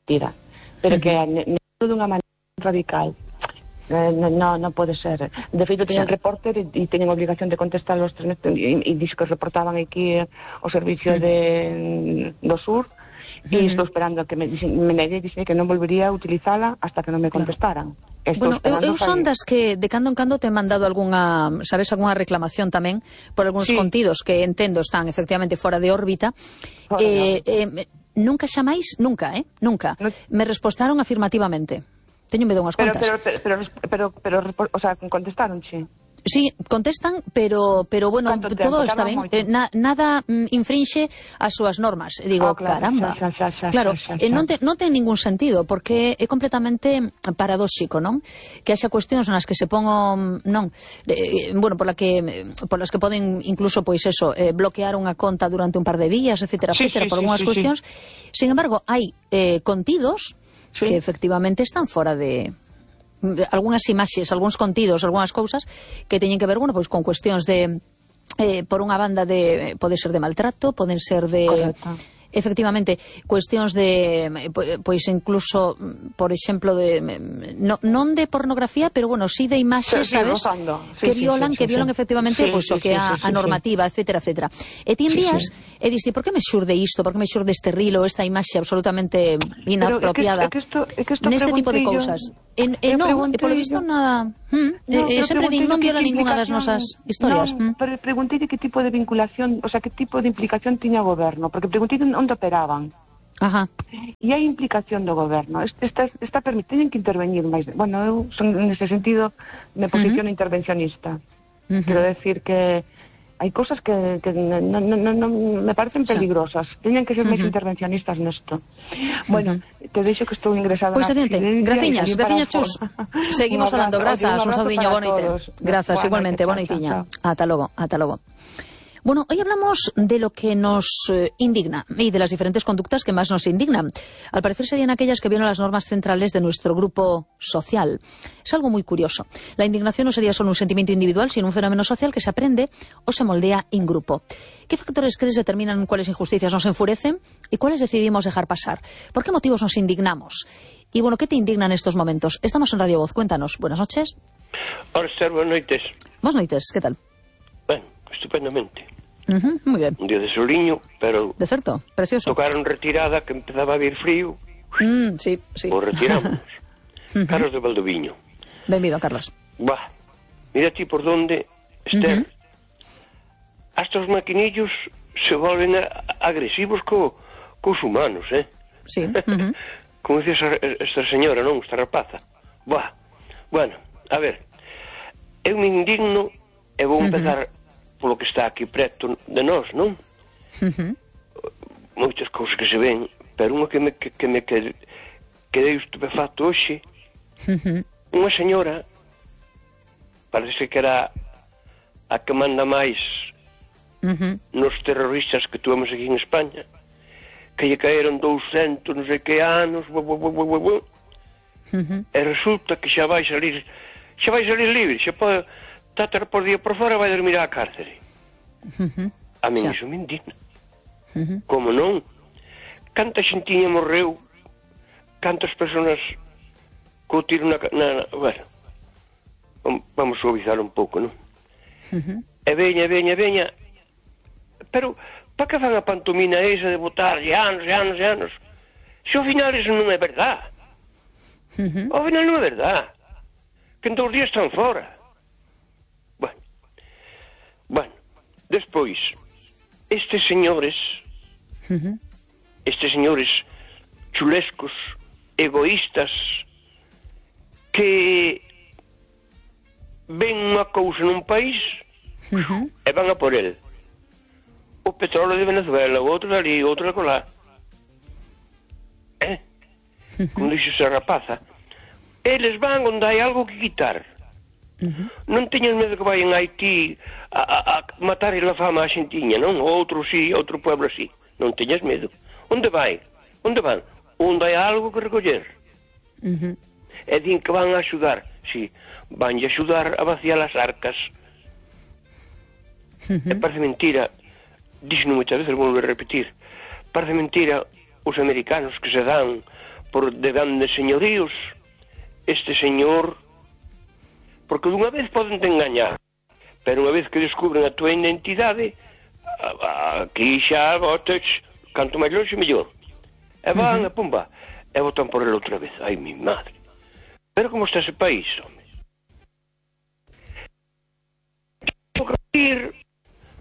mentira. Pero que dunha maneira radical. Non pode ser. De feito, teñen reporter e teñen obligación de contestar os 3 meses e dixo que reportaban aquí o servicio do sur e estou esperando que me dixen que non volvería a utilizala hasta que non me contestaran. Bueno, eu son das que de cando en cando te he mandado algunha, sabes, algunha reclamación tamén por algúns contidos que entendo están efectivamente fora de órbita. Nunca xamais, nunca, me respostaron afirmativamente. Teño medo unhas contas. Pero, o sea, contestaron, sí. Sí, contestan, pero bueno, todo está ben. Nada infrinxe as súas normas. Digo, caramba. Claro, non ten ningún sentido, porque é completamente paradóxico, non? Que haxa cuestións nas que se pongo, bueno, por las que poden incluso, pois eso, bloquear unha conta durante un par de días, etcétera, por algunhas cuestións. Sin embargo, hai contidos que efectivamente están fora de algunhas imaxes, algúns contidos, algunhas cousas que teñen que ver, bueno, pois con cuestións de por unha banda de pode ser de maltrato, poden ser de efectivamente cuestións de pois incluso, por exemplo, de non de pornografía, pero bueno, sí de imaxes, sabes, que violan efectivamente pois o que é a normativa, etcétera, etcétera. E ti envías e diste, por que me xurde isto, por que me xurde este rilo, esta imaxe absolutamente inapropiada neste tipo de cousas? E polo visto nada, sempre din non viola ninguna das nosas historias. Pero preguntei que tipo de vinculación, o sea, que tipo de implicación tiña o goberno, porque preguntei onde operaban. E hai implicación do goberno. Está permitido que intervenir máis. Bueno, eu son, nese sentido, me posiciono intervencionista. Quero decir que hai cosas que non me parecen peligrosas. Teñen que ser máis intervencionistas nesto. Bueno, te deixo que estou ingresada. Pois adiante, graciñas Chus. Seguimos falando, grazas, un saudiño, boa noite. Grazas, igualmente, boa noitiña. Ata logo. Bueno, hoy hablamos de lo que nos indigna y de las diferentes conductas que más nos indignan. Al parecer serían aquellas que violan las normas centrales de nuestro grupo social. Es algo muy curioso. La indignación no sería solo un sentimiento individual, sino un fenómeno social que se aprende o se moldea en grupo. ¿Qué factores crees determinan cuáles injusticias nos enfurecen y cuáles decidimos dejar pasar? ¿Por qué motivos nos indignamos? Y bueno, ¿qué te indigna en estos momentos? Estamos en Radio Voz, cuéntanos. Buenas noches. Hola, buenas noites. Buenas noites, ¿qué tal? Bueno, estupendamente. Muy bien. Un día de soliño, pero... De certo, precioso. Tocaron retirada, que empezaba a vir frío. Sí. O retiramos. Carlos de Valdoviño. Benvido, Carlos. Mira ti por donde, Esther. Hasta os maquinillos se volven agresivos cos humanos, Sí. Como dice esta señora, non? Esta rapaza. Bueno, a ver. Eu me indigno e vou empezar... polo que está aquí preto de nós, non? Moitas cousas que se ven, pero unha que me quedei estupefacto hoxe, unha señora, parece que era a que manda máis nos terroristas que tuvemos aquí en España, que lle caeron 200 non sei que anos, e resulta que xa vai salir libre, xa pode tatar por día por fora, vai dormir á cárcere. A min iso me indigna. Como non? Canta xentiña morreu, cantas personas co tiro na... Bueno, vamos suavizar un pouco, non? E veña, pero para que fan a pantomina esa de botar anos e anos? Se ao final iso non é verdad. Ao final non é verdad. Que en 2 días están fora. Bueno, despois, estes señores chulescos, egoístas, que ven unha cousa nun país e van a por el. O petróleo de Venezuela, o outro dali, o outro de colá. Como dixo esa rapaza, eles van onde hai algo que quitar. Non teñan medo que vayan a Haití a matar a fama a xentiña, non? Outro sí, outro pueblo sí. Non teñas medo. Onde vai? Onde van? Onde hai algo que recoller. E din que van a axudar. Sí, van a axudar a vaciar as arcas. E parece mentira, dixo moitas veces, volvo a repetir, parece mentira os americanos que se dan por de grandes señoríos, este señor, porque dunha vez poden te engañar, pero unha vez que descubren a tua identidade, aquí xa votas, canto máis longe mellor. E van, e pumba, e votan por ele outra vez. Ai, mi madre. Pero como está ese país, home? Ir